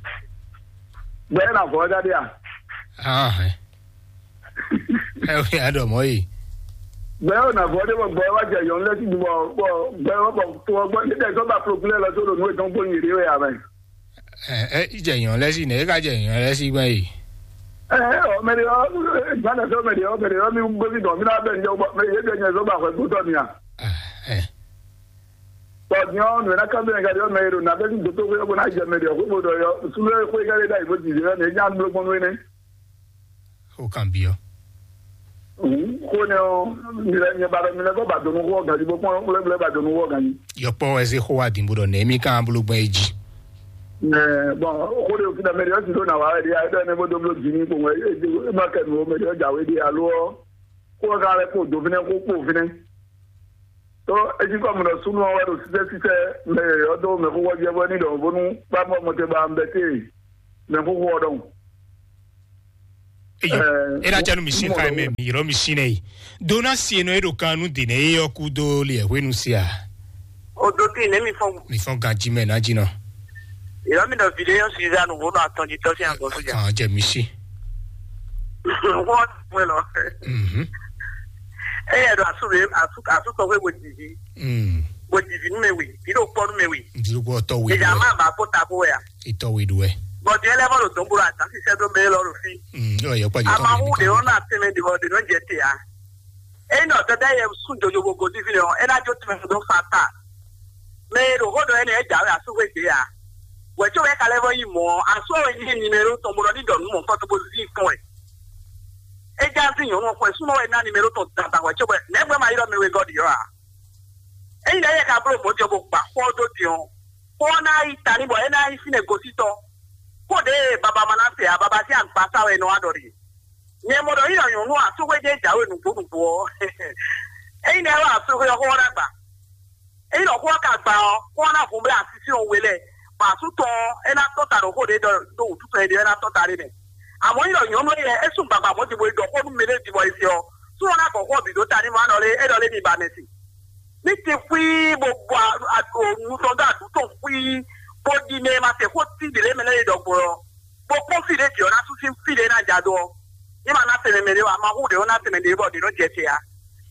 Bẹ́ẹ̀ nà fọ́ jáde à. Ah, ẹ. Ẹ wí àdọ̀mọ́ yìí. Bẹ́ẹ̀ ò nà fọ́ dé bọ̀ gbọ́ ẹ wá jẹ yọ̀ ńlẹ́ sí ju bọ̀ bọ̀ gbẹ́ wọ́n bọ̀ tó ọgbọ́n nígbà tó bá pòlòpìlẹ̀ lọ sódò nú ètò ń gbóyìn èrè wẹ̀ àmẹ́. Ɛ, ɛ, ìjẹ̀yàn lẹ́sìn ní, ẹ ká jẹ̀yàn lẹ́sìn gbọ́n yìí. Ɛ, ɔ, mɛɖe ɔ, gbadɛ sɔ mɛɖe ɔ, mɛɖe ɔ, mi gbósì dɔn, mi náà bɛ ń jẹ, mɛ yé bɛ nyɛ zɔ ba hwɛ gbótɔ mi a. Ɛ, ɛ. Tɔ diɔ, nù ná ká bɛ ń gadi ɔ, mɛ yé ɖo nà bɛ ní gbótó wé, ɔ, bó ná jẹ mɛɖe ɔ, kó bó dɔ yɔ, súnú ɛ kó é ká lé dá yìí bó ti zé ɔ, nɛ é nya bló gbɔn nú é nɛ. Ó kàn bí ọ. Xó nɛ ɔ, mi lɛ nyɛ ba ɖɔ mi lɛ kɔ ba donu xó ɔ ganji bó kpɔn xlɛ́ blɛ́ ba donu xó ɔ ganji. Yɔkpɔ wɛ zé xó wa dìbò ɖɔ nɛ mi kan bolo gbɛn e jí. Ɛ, bɔn xó de òfin amɛri ɔsi ɖo na wa ɛdi ayɛ ne bó dó blo dzi ní kpɔn ɛ ɛ ma kɛ nu o mɛ de ɔjà wé de alo ɔ kó ɔ ka lɛ kó do fínɛ kó kpó fínɛ. Tó etí kɔ mu ɖɔ súnú ɔ wɛ ɖo sísɛ sísɛ mɛ yɔyɔ dó mɛ xó wɔ jɛ bɔ ní ɖɔ bónú bá mɔ mɔtɛ ba ń bɛ té mɛ xó xó ɔ ɖɔhùn. Eyo, e na janu mi sin xa mɛ mi yɔrɔ mi sin nɛ yi. Dona si enɔ e ɖo kan nu de nɛ e yɔ ku do li ɛ hwenu si a. O do ti ne mi fɔ. Mi fɔ ganji mɛ na jinɔ. Yɔrɔ mi dɔ video si za nu wo nɔ atɔn ji tɔ si an gɔsu ja. Kan jɛ mi si. Wɔ wɛ lɔ. Mhm. E yɛ do asu be asu asu tɔ hwe wo didi. Mm. Wo didi nu me wi. Ido kpɔ nu me wi. Ido kpɔ tɔ wi. Ìjà máa bá kó tako wẹ̀ à. Itɔ wi du wɛ. Bɔn diɛ lɛ bɔ ɖo dɔn bolo ata sisɛ do mɛ lɔ ɖo fi. Mm, ɔ yɛ kpa jɛ tɔ. Amahu de ɔn na tɛmɛ de bɔ de nɔ jɛ te ya. Eyi nɔ tɛtɛ yɛ sun jojo bo godi fi nɔ ɛna jo tɛmɛ do fa ta. Mɛ ɖo xɔ dɔ ɛnɛ ɛdza wɛ asu hwe de ya. Wɛ tso wɛ kalɛ bɔ yi mɔ asu wɛ yi ni mɛ ɖo tɔn bo nɔ ni dɔ nu mɔ kɔtɔ bo zi kɔn wɛ. Edza zi nyɔnu xɔ sunɔ wɛ na ni mɛ ɖo tɔn dada wɛ tso wɛ nɛgbɛ ma yi dɔ mɛ wɛ gɔ di yɔ a. Eyi lɛ yɛ ka blo mɔ jɔ bo gba xɔ do di ɔn. Xɔ ná yi ta ní bɔ é ná yi fínɛ́ gosítɔ. Xó ɖě e baba ma ná se ǎ, baba sín agbasáwɛ nɔ wá ɖɔ ɖe. Nyɛ mɔ ɖɔ yí ɖɔ nyɔ̌nu asúxwé jɛ́n jǎwe nǔgbó nǔgbó ɔ́. Ényí nɛ́ wɛ asúxwé ɔ́ xó ɔ́ ná gba. Ényí ɖɔ xó ɔ́ ka gba ɔ́, xó ɔ́ ná hun blá asísí ɔ́ we lɛ́ɛ, bɔ asú tɔn ɔ́, é ná tɔ́ ta ɖo xó ɖě ɖɔ ɖó wǔtú tɔn é ɖe ɔ́, é ná tɔ́ ta ɖé mɛ. Àmọ́ ényí ɖɔ nyɔ̌nu éyɛ́ é sú gbagba mɔ̌ din bó yi ɖɔ xó nú mɛɖé din bɔ è se ɔ́, sú ɔ́ ná gbɔ xó ɔ́ bǐ dó ta n'i mɔ á ɖɔ lé é ɖɔ lé mi ba mɛ sin. Ní ti xwíí bó bɔ nu tɔn dó aɖǔ tɔn xwíí, bó ɖi mɛ e ma se xó tín ɖě lě mɛ lɛ́ɛ é ɖɔ gbɔn ɔ́, bó kpɔ́n fí ɖě jǐ ɔ́ ná sú sín fí ɖě ná ja dó ɔ́, ní ma ná sɛmɛ mɛ ɖé wá, ma hu ɖě ɔ́ ná sɛmɛ ɖě bɔ ɖě nɔ jɛ te ǎ.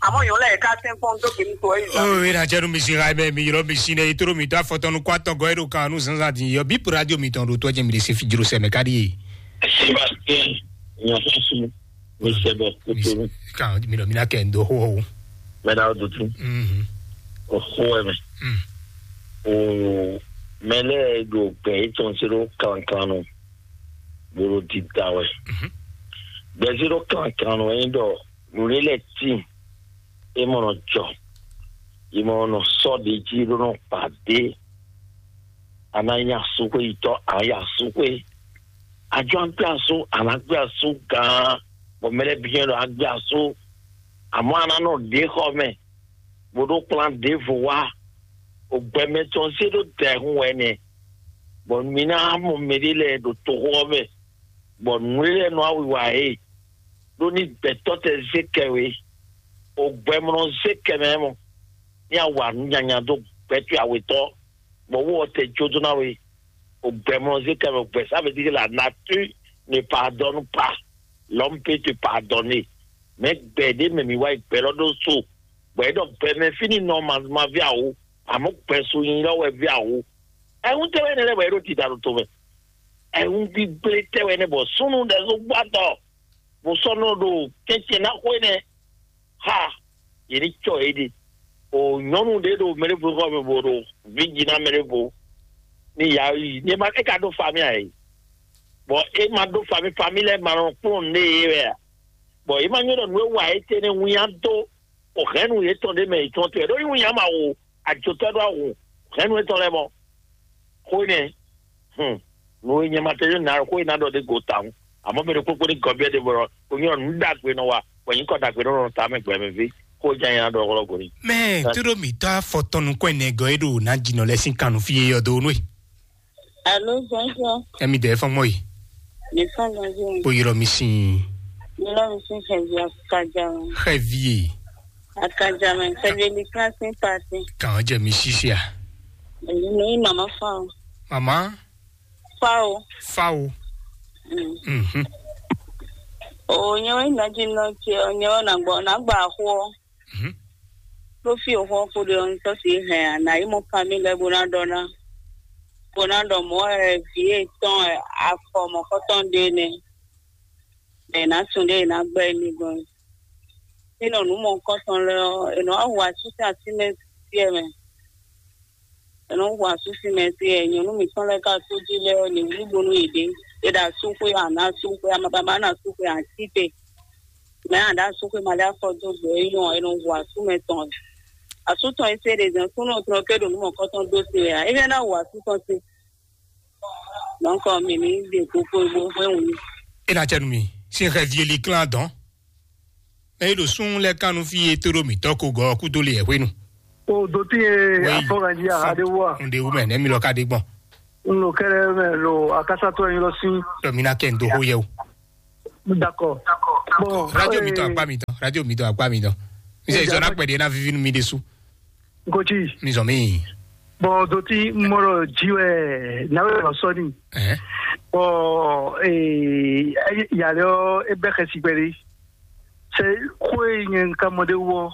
Àmọ́ yɔn lɛ́ɛ ká sɛn kpɔ́n dó kpé ní to ɔ́ yi zan. Ó, é ná jɛ nú mi sin ha mɛ mi ylɔ́ mi sin ɖe yi tló mi dó afɔtɔnu kó atɔgɔ́ é ɖo kan nú zǎnzǎn din yɔ bí radio mitɔn ɖo tó jɛ mi ɖe se fi jlo sɛ mɛ ká ɖíe. Sébastien, nyɔ̌sɔ́sú, mi sɛ bɔ kútó. Kan mi ɖɔ mi ná kɛ ndo xó o. Mɛ ɖa o dutu. Mhm. O xó wɛ mɛ. Mm. O mɛ lɛ ɖo gbɛ yětɔn se ɖo kankan nɔ. Bolo dida wɛ. Mhm. Gbɛ se ɖo kankan nɔ yín ɖɔ nǔɖé lɛ tíin. E mɔ nɔ jɔ. E mɔ nɔ sɔ ɖe jí ɖó nɔ kpa ɖe. A ná nyí asúxwé yitɔ́, a nyí asúxwé. Ajɔ agbé asú, a ná gbé asú gán, bɔ mɛ lɛ́ɛ byɔ́ ɖɔ a gbé asú. Àmọ́ a ná nɔ ɖě xɔ mɛ, bó ɖó kplán ɖěvo wá. Ògbɛmɛ tɔn zé ɖó dɛ̌hun wɛ nɛ, bɔ mi ná mɔ mɛɖé lɛ́ɛ ɖo toxo ɔ́ mɛ, bɔ nǔ e lɛ́ɛ nɔ awiwa é, ɖó ní gbɛ̌tɔ́ tɛ zé kɛ we. Ògbɛmlɔ zé kɛ mɛ mɔ, ní a wa nǔ nyanya dó gbɛtɔ́ awetɔ́, bɔ wó ɔ́ tɛ jó dó ná we. Au gbɛmlɔzé kɛ mɛ gbɛ, ça veut dire que la nature ne pardonne pas. L'homme peut te pardonner. Mais gbɛ ɖé mɛ mi wá yi gbɛ lɔ ɖó so. Gbɛ ɖɔ gbɛ mɛ fini nɔ ma ma vi awo. Àmọ́ gbɛ so yin lɔ wɛ vi awo. Ɛhun tɛ wɛ ne lɛ wɛ ɖo tita ɖo to mɛ. Ɛhun gbígbé tɛ wɛ ne bɔ sunu ɖe so gbɔ atɔ. Bó sɔ́ nɔ ɖo kɛ́nkɛ́n ná xó énɛ́. Ha, yě ní cɔ yě ɖe. O nyɔnu ɖé ɖo mɛɖevo xɔ mɛ bó ɖo vǐ jí ná mɛɖevo. Ní ya yi, ní ma é ka ɖó fami ǎ é. Bɔ é ma ɖó fami, fami lɛ́ɛ ma nɔ kplɔ́n nǔ ɖé yě wɛ ǎ. Bɔ yě ma nyɔ́ ɖɔ nǔ e wa é tɛ́ nɛ́ winnyá dó o hɛ̌nnu yětɔn ɖé mɛ yětɔn tɔn ɖó nyí winnyá ma wo ajotɔ́ ɖó awu hɛ̌nnu yětɔn lɛ́ɛ mɔ. Xó énɛ́, hum, nǔ e nyɛ ma tɛ́ nyɔ́ ná xó e ná ɖɔ ɖé go tawun. Àmọ́ mɛ ɖokpó kpó ní gɔbíɛ ɖé bɔ o nyɔ nǔ ɖagbe nɔ wa, bɔ nyǐkɔ ɖagbe nɔ nɔ ta mɛ gbɛ mɛ ví, xó jɛ nyɛ ná ɖɔ hlɔ́ go ní. Mɛ tó ɖo mǐtɔ́ afɔtɔn nukɔn ɛnɛ gɔ́ é ɖo ná jinɔ lɛ́ɛ sín kan nú fí é yɔ dó nú é. Alo, bonjour. Ɛmi dɛ fɔn mɔ yi. Mi fɔn bonjour. Kpo yɔrɔ mi sin. Mi lɔ mi sin xɛvi akaja. Xɛvi. Akaja mɛ, xɛvi li kan sin pati. Kan jɛ mi sisi a. Èyí ni mama fa o. Mama. Fa o. Fa o. Mm. Mhm. O nyɛ wɛ na ji nɔ tiɛ, o nyɛ wɛ na gbɔ na gba xo. Mhm. Ɖó fí o xɔ xo ɖe ɔn sɔ si hɛn a na yi mɔ kami lɛ bo na ɖɔ na. Bo na ɖɔ mɔ ɛ vi etɔn ɛ afɔ mɔ kɔtɔn ɖe nɛ. Ɛ na sun ɖe na gbɛ ni gbɔn. Eno nu mɔ kɔtɔn lɛ ɔ, eno awu asisa si mɛ tiɛ mɛ. Eno wu asisi mɛ tiɛ nyɔnu mi sɔn lɛ ka so ji lɛ ɔ, ni wuli bonu yi ɖe. E ɖa su xwe ana su xwe amababa na su xwe ati te. Mɛ a ɖa su xwe ma ɖe afɔ do gbɛ e nyɔ eno wu asu mɛ tɔn. Asu tɔn e se ɖe zɛn kúnɔ tɔn ke ɖo nu mɔ kɔtɔn do se ya. E fɛ na wu asu tɔn se. Donc mi ni de koko bo hwe wu. E na cɛ nu mi. Si xɛ vi eli klan dɔn. Mɛ yi ɖo sún lɛ kan nú fí e tó ɖo mǐtɔn ko gɔ́ kúdó le ɛ hwenu. O do ti ye afɔganji aha ɖe wua. N ɖe wú mɛ nɛ mi lɔ ka ɖe gbɔn. N lo kɛrɛ mɛ lo akasatɔ yin lɔ si. Lɔ mi na kɛ n do xó yɛ o. D'accord. Bon, radio mi tɔn eh, akpa mi tɔn, radio mi tɔn akpa mi tɔn. Mi sɛ ìsɔ náà pẹ̀lú ẹ̀ náà fífi nú mi ɖésú. Nkoji. Mi zɔn mi. Bon, doti mɔrɔ jiwɛ nawe lɔ sɔni. Ɛhɛn. Bon, eh, yàrá ɔ ebe xɛ si gbɛli. Sɛ ko e nyɛ nka mɔ de wɔ.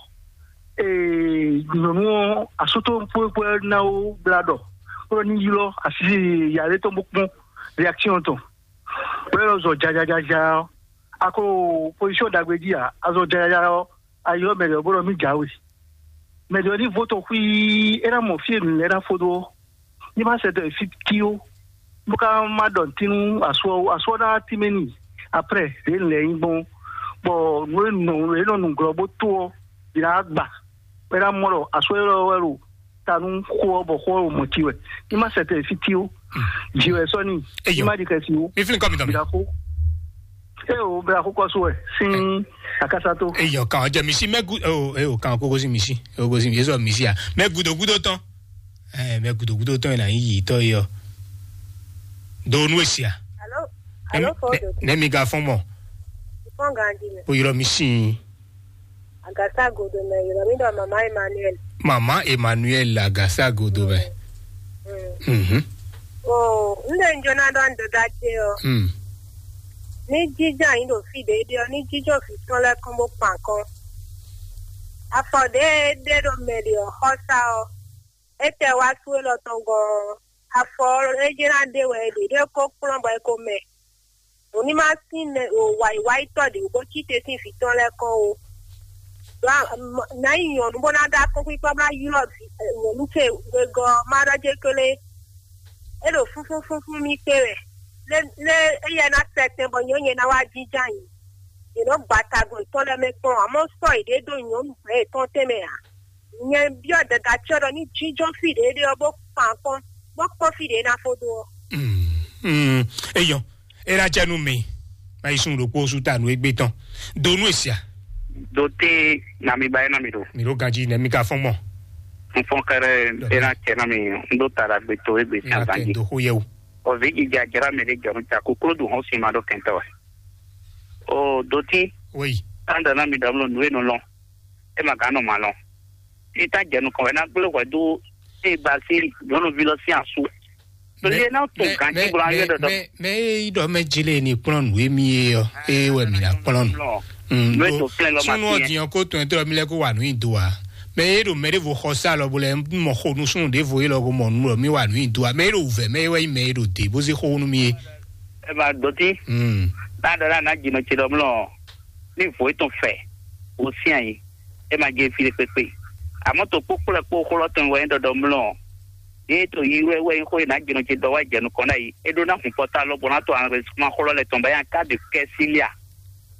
Eh, nyɔnu ɔ asutɔ kpɔkpɔ na wo bla dɔ. Kpɔ ni ylɔ asi yàrá tɔn bó kpɔn réaction tɔn. Wɛ lɔ zɔ jajajaja ɔ, a ko position dagbe jí a, a zɔ jajaja ɔ, a ylɔ mɛ ɖe ɔ bó ɖɔ mí jǎwe. Mɛ ɖe ɔ ní vo tɔn xwí é ná mɔ fí e nǔ lɛ́ɛ ná fó dó ɔ́, ní má sɛ dɔ fí tí ó, bó ká má ɖɔ nǔtínú asú ɔ́, asú ɔ́ ná tímɛ n'i. Après ɖě nǔ lɛ́ɛ nyí gbɔn, bɔ nǔ e nɔ nǔ e nɔ nǔglɔ́ bó tó ɔ́, bǐ ná gbà, bɔ é ná mɔ ɖɔ asú élɔ́ wɛ ɖo ta nú xó ɔ́, bɔ xó ɔ́ ɖo mɔ̌ cí wɛ. Ní má sɛ tɛ fí tí ó, jǐ wɛ sɔ́ n'i, ní má ɖi xɛsi ó. Mi flin kɔ mi tɔn mi. Bǐ ná xó. É o bla xó kɔsó wɛ sín akásá tó. Eyɔ kan ɔjɛ misi mɛ gu o e o kan kókó sí misi o kókó sí misi sɔ misi a mɛ gudo gudo tɔn. Ɛ mɛ gudo gudo tɔn yìí na yí yìí tɔ yìí ɔ. Do nu esi a. Alo, alo, fɔ do. Ne mi ga fɔn mɔ. Fɔn ganji mɛ. O yɔrɔ mi sin. Agasa godo mɛ yɔrɔ mi dɔ mama Emmanuel. Mama Emmanuel Agasa godo mɛ. Mhm. O n de n jona dɔ n dada ce ɔ. Mm. Ni jija yin do fi de de ɔ ni jijɔ fi tɔn lɛ kɔn bo kpan kɔn. Afɔ de de do mɛ de ɔ xɔsa ɔ. Etɛ wa su elɔ tɔn gɔn. Afɔ ɔ e jena de wɛ de de ko kplɔn bɔ e ko mɛ. Òní má sín mɛ o wǎyíwáyítɔ́ ɖě bó cí te sín vǐ tɔn lɛ́ɛ kɔn ó. Nǎ yi nyɔ̌nu bó ná ɖó akɔ́nkpinkpan bó ná ylɔ́ vǐ nyɔ̌nu ce wegɔ́ ɔ́, má ɖɔ jé kélé. É ɖo fúnfún fúnfún mì kpé wɛ. Lé lé éyɛ́ ná sɛtɛn bɔ nyɔ̌nyɛ ná wá jínjɔ́n ayǐ. È nɔ́ gba tagun yětɔn lɛ́ɛ mɛ kpɔ́n, amɔ̌ sɔ́ yěɖée dó nyɔ̌nu gbɛ̌ yětɔn tɛnmɛ ǎ. Nyɛ byɔ́ dada ce ɔ́ ɖɔ ní jínjɔ́n fí ɖě ɖé ɔ́ bó kpan kpɔ́n, bó kpɔ́n fí ɖě ná fó dó ɔ́. Mm, mm, eyɔn, é ná jɛ nú mi. Má yi sun ɖokpó sú ta nú égbé tɔn. Do nú èsì a? Do té na mi ba é na mi ɖo. Mi ɖo ganji nɛ mi ka fɔn mɔ. N fɔn kɛrɛ é ná cɛ na mi, n ɖo ta ɖagbe to égbé sí azanji. Do xó yɛ o. Ɔvi jija jara mi ɖe jɔnu ta ko klo do hɔn si ma ɖo kɛntɛ wɛ. O do tí. Oui. Tanda na mi ɖɔ mlɔ nú e nɔ lɔn. E ma gán nɔ ma lɔn. Títà jɛ nukɔn wɛ ná gblé hwɛ dó ée ba sín nyɔ̌nuví lɔ sín asú. Tolí e ná to gǎn jí bɔ ayé dɔdɔ. Mɛ e yi ɖɔ mɛ jele ni kplɔn nǔ emi ye ɔ, eye wɛ mi na kplɔn nǔ. Nú ètò flɛ́ lɔ ma súnú tiɛ. Ọ̀dìyàn kó tún ẹ̀tọ́ mi lẹ́kọ̀ọ́ wà ní ìdó wa. Mɛ e ɖo mɛ ɖevo xɔ sá lɔ bo lɛ mɔ xo nú súnú ɖevo e lɔ ko mɔ nú lɔ mi wà ní ìdó wa. Mɛ e ɖo wùvɛ mɛ e wɛ yi mɛ e ɖo dě bó zé xó nú mi ye. Ẹ máa dọ̀tí. Mm. Ládàá náà jìnnà ce ɖɔ mlɔ ní vǒ etɔn fɛ wò sín ayǐ. É ma jɛ fi ɖé kpékpé. Àmọ́ tó kpókplɔ́ kpó xó lɔ́ tɔn wɛ nyí ɖɔɖɔ mlɔ. Yé tó yi wɛ wɛ nyí xó e nǎ jìnnà ce dɔ wá jɛ nukɔn ná yi. É ɖó ná hun pɔtá lɔ bɔ ná to anrɛsíkúmá xó lɔ lɛ tɔn bá yá ká de kɛ́ sí lia.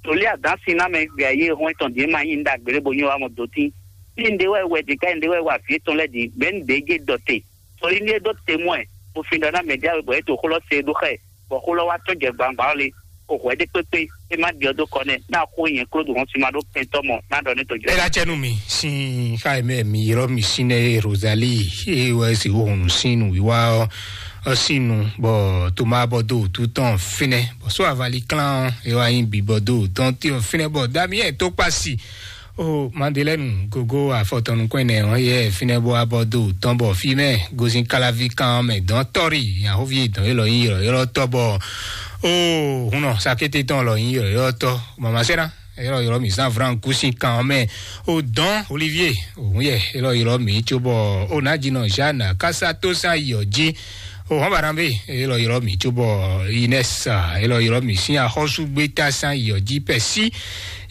Tòlí àdán sin ná mɛ gbɛ ayé hɔn etɔn dě ma nyí nda gbélé bo nyí wá mɔ dó tí. Ní ndé wɛ wɛ dě ká ndé wɛ wà vǐ etɔn lɛ́ dǐ, bɛ̌ ní dě jé dɔ te. Sɔlí ní é ɖó temwɛ, bó fin ɖɔ ná mɛ ɖé awe bɔ é to xó lɔ se ɖó xɛ, bɔ xó lɔ wá tɔ́n jɛ gbangba ɔ́ lé, o hwɛ ɖé kpékpé, é má ɖiɔ dó kɔ nɛ, ná xó nyɛ kló ɖo hɔn sin ma ɖó kɛntɔ́ mɔ, ná ɖɔ ní to jɔ. Ela cɛ nú mi sín xá e mɛ mi ylɔ́ mi sín nɛ́ Rozali, eye wɛ si wo hɔn sín nǔwiwa ɔ́, ɔ sín nu, bɔ Toma bɔ dó wǔtu tɔn fínɛ́, bɔ só avali klán ɔ́, é wá nyí bǐ bɔ dó wǔtɔn tí ɔ fínɛ́, bɔ Damiɛn tó kpasi. O Madelɛnu gogo afɔtɔnukɔn ɛnɛ ɔ́ yɛ fínɛ́ bó wá bɔ dó tɔn bɔ fí mɛ gozin káláví kan mɛ dɔn tɔ́rì yahovi dɔn élɔ́ nyí ylɔ́ylɔ́ tɔ́ bɔ o hunnɔ sakété tɔn lɔ nyí ylɔ́ylɔ́ tɔ́ mama sɛ́ná élɔ́ ylɔ́ mǐ zán vran kúsin kan ɔ́ mɛ o dɔn Olivier òun yɛ élɔ́ ylɔ́ mǐ cóbɔ o nǎjínɔ Jeanne kásátósán yɔ jí. O hɔn bara be elɔ ylɔ mi tso bɔ Inès, elɔ ylɔ mi sin axɔsu gbeta san yɔ ji pɛsi,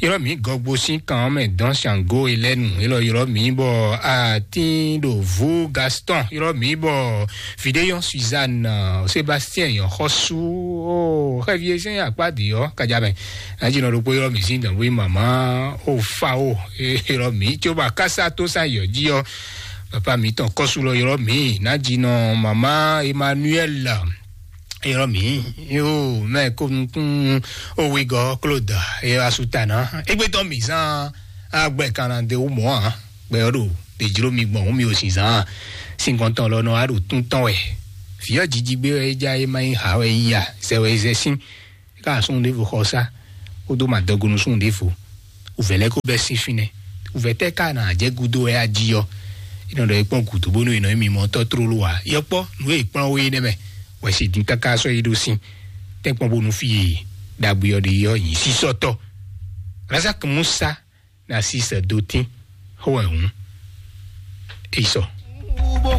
ylɔ mi gɔgbo sin kan mɛ dɔn sango elɛnu, elɔ ylɔ mi bɔ atin ɖo vu Gaston, ylɔ mi bɔ vidéyɔn Suzanne, Sébastien yɔ xɔsu o xɛvie sɛn akpa di yɔ kadjamɛ. Nadzi nɔ ɖokpo ylɔ mi sin dɔn bu mama o fa o, ylɔ mi tso bɔ akasa to san yɔ ji yɔ. Papa mǐtɔn kɔ́sú lɔ ylɔ́ mǐ ná ji nɔ mama Emmanuel ylɔ́ mǐ yo mɛ ko nukún owegɔ Claude e asutana egbetɔ mǐ zan agbɛ kan na de wo mɔ a gbɛ ɔ ɖo ɖe jlo mi gbɔn mi o si zan sinkɔntɔn lɔ nɔ a ɖo tún tɔn wɛ. Vǐ ɔ jiji gbé wɛ e ja e ma yi ha wɛ yi a zɛ wɛ e zɛ sín ká asún ɖěvo xɔ sá. kpódó madɔgonu súnnu ɖěvo. Wǔvɛ́ lɛ́ɛ kó bɛ́ sín fínɛ́. Wǔvɛ́ tɛ́ ka nɔ jɛ gúdo wɛ ají ɔ́? É nɔ ɖɔ é kpɔ́n gǔdo bónú è nɔ nyí mimɔtɔ́ tlóló ǎ. Yɔkpɔ́ nǔ e è kplɔ́n we nɛ́ mɛ wɛ si dín káká sɔ́ yi ɖó sín tɛ́nkpɔ́n bónú fí e ɖagbe ɔ́ ɖe ɔ́ nyi sísɔ́tɔ́. Razak Musa na si sɛ do tín xó wɛ hǔn. É yi sɔ.